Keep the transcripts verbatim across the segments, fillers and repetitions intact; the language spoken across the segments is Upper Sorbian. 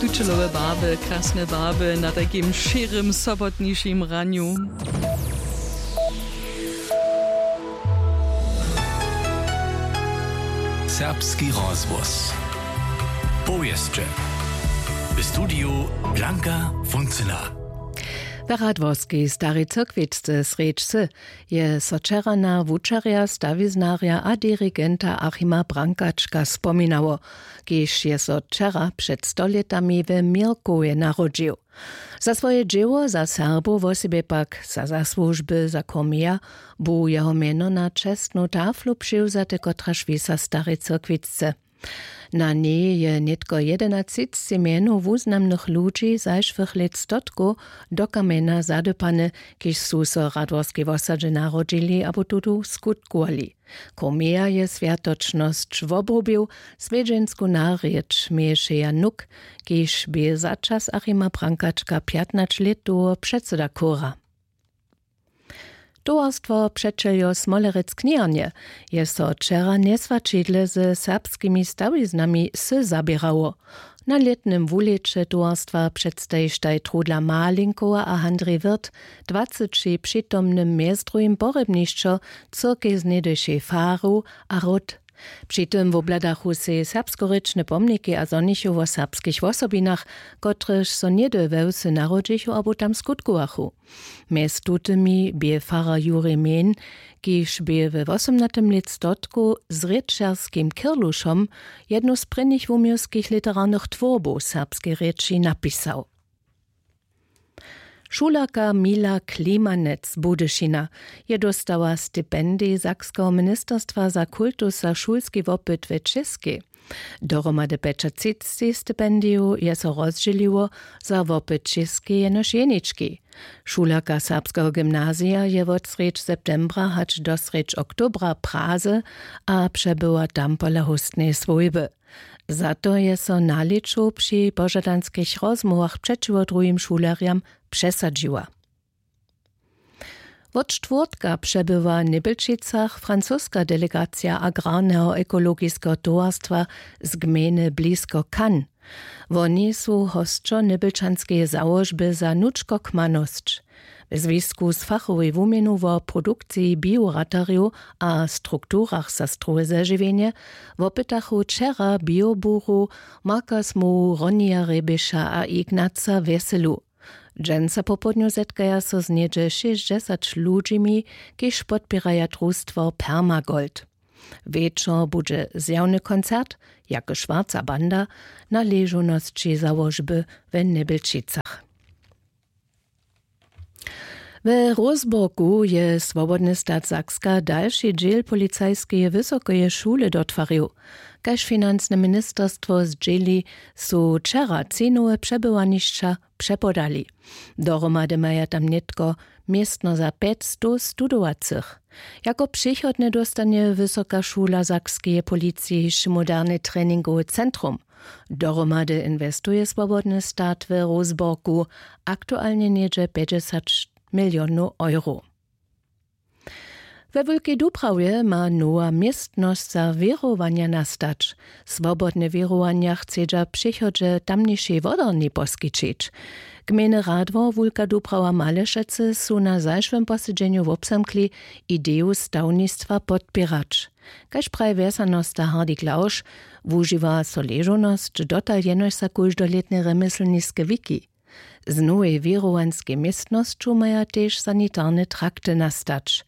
Tučelowe barby, krasne barby na takim šěrym sobotnišim ranju. Serbski rozhłos. Powěsće. W studiju Blanka Funcyna. W Radworskej Starej Cyrkwicce srjedźcy je so wčera na wučerja, stawiznarja a dirigenta Achima Brankačka spominało, kiž je so wčera před stolětami we Měrkowje narodźił. Za swoje dźěło za Serbow, wosebje pak za zasłužby za Cormeja, bu jeho mjeno na čestnu taflu přiwzate, kotraž wisa w Starej Cyrkwicce. Na njej je nětko jedenatřicci mjenow wuznamnych ludźi zašłych lět stotkow do kamjena zadypane, kiž su so w Radworskej wosadźe narodźili abo tudu skutkowali. Cormeja je swjatočnosć wobrubił, swjedźensku narěč měješe Jan Nuk, kiž bě za čas Achima Brankačka pjatnaće lět dołho předsyda chóra. Towarstwo přećeljo Smolerec Kněrnje je so wčera njeswaćidle ze serbskimi stawiznami sy zaběrało. Na lětnym wulěće towarstwa předstajištaj Trudla Malinkowa a Handrij Wirth dwaceći přitomnym mjez druhim porjebnišćo, cyrkej z něhdyšej faru a ród. Při tym wobhladachu sej serbskorěčne pomniki a zhonichu wo serbskich wosobinach, kotrež so něhdy we wsy narodźichu abo tam skutkowachu. Mjez tutymi bě farar Jurij Mehn, kiž bě we wosomnatym lětstotku z rěčerskim Kirlušom jednu z prěnich wuměłskich literarnych twórbow w serbskej rěči napisał. Šulerka Mila Klimanec z Budyšina je dóstała stipendij Sakskeho ministerstwa za kultus za šulski wopyt w Českej. Dohromady pjećatřicci stipendijow je so rozdźěliło, za wopyt Českej jenož jenički. Šulerka serbskeho gymnazija je wot srjedź septembra hač do srjedź oktobra w Praze a přebywa tam pola hóstneje swójby. Za to je so na lěću při požadanskich rozmołwach přećiwo druhim šulerjam přesadźiła. Wot štwórtka přebywa w Nybjelčicach francoska delegacija agrarneho ekologijskeho towarstwa z gmejny blisko Cannes. Woni su hosćo nybjelčanskeje załožby za nučkokmanosć. W zwisku z fachowej wuměnu wo produkciji bioratarjow a strukturach za strowe zežiwjenje wopytachu wčera bioburow Marka Smołu, Ronija Rjeběša a Ignaca Wjeselu. Dźensa popołdnju zetkaja so z něhdźe šěsćdźesać ludźimi, kiž podpěraja drustwo Permagold. Wječor budźe zjawny koncert Jake Schwarza Banda na ležownosći załožby w Nybjelčicach. We Rózborgu je Swobodny stat Sakska dalši dźěl policajskeje wysokeje šule dotwarił. Kaž financne ministerstwo zdźěli, su wčera cenowe přebywanišća přepodali. Dohromady maja tam nětko městno za pjećstow studowacych. Jako přichodne dóstanje Wysoka šula sakskeje policiji hišće moderne treningowe centrum. Dohromady inwestuje Swobodny stat w Rózborgu aktualnje něhdźe pjećdźesat milionow euro. We Wulkej Dubrawje ma nowa městnosć za wěrowanja nastać. Swobodne wěrowanja chcedźa w přichodźe tamnišej wodarni poskićić. Gmejny radwor Wulka Dubrawa Malešecy su na zašłym posedźenju wobzamkli, ideju stawnistwa podpěrać. Kaž praji wjesanosta Hardy Klausch, wužiwa so ležownosć dotal jenož za kóždolětne rjemjeslniske wiki. Z nowej wěrowanskej městnosću maja tež sanitarne trakty nastać.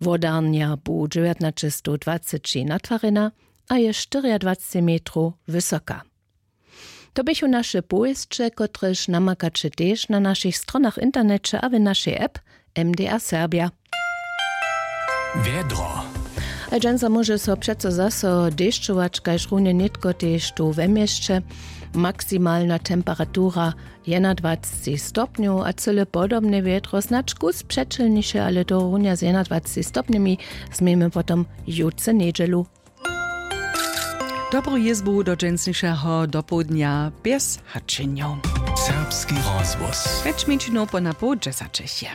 Wodarnja bu dźewjatnaćestow dwaceći natwarjena a je štyriadwaceći metrow wysoka. To běchu naše powěsće, kotrež namakaće tež na našich stronach w interneće a w našej app M D R Serbia. Wjedro. A dźensa móže so přeco zaso dešćować, kaž runje nětko tež tu we měsće. Maksimalna temperatura jednadwaceći stopnjow a cyle podobne wjedro, snadź kus přećelniše, ale to runja z jednadwaceći stopnjemi změjemy potom jutře njedźelu. Dobru jězbu do dźensnišeho dopołdnja bjez hačenjow. Serbski rozhłos. Pjeć mjeńšinow po na poł dźesaćich je.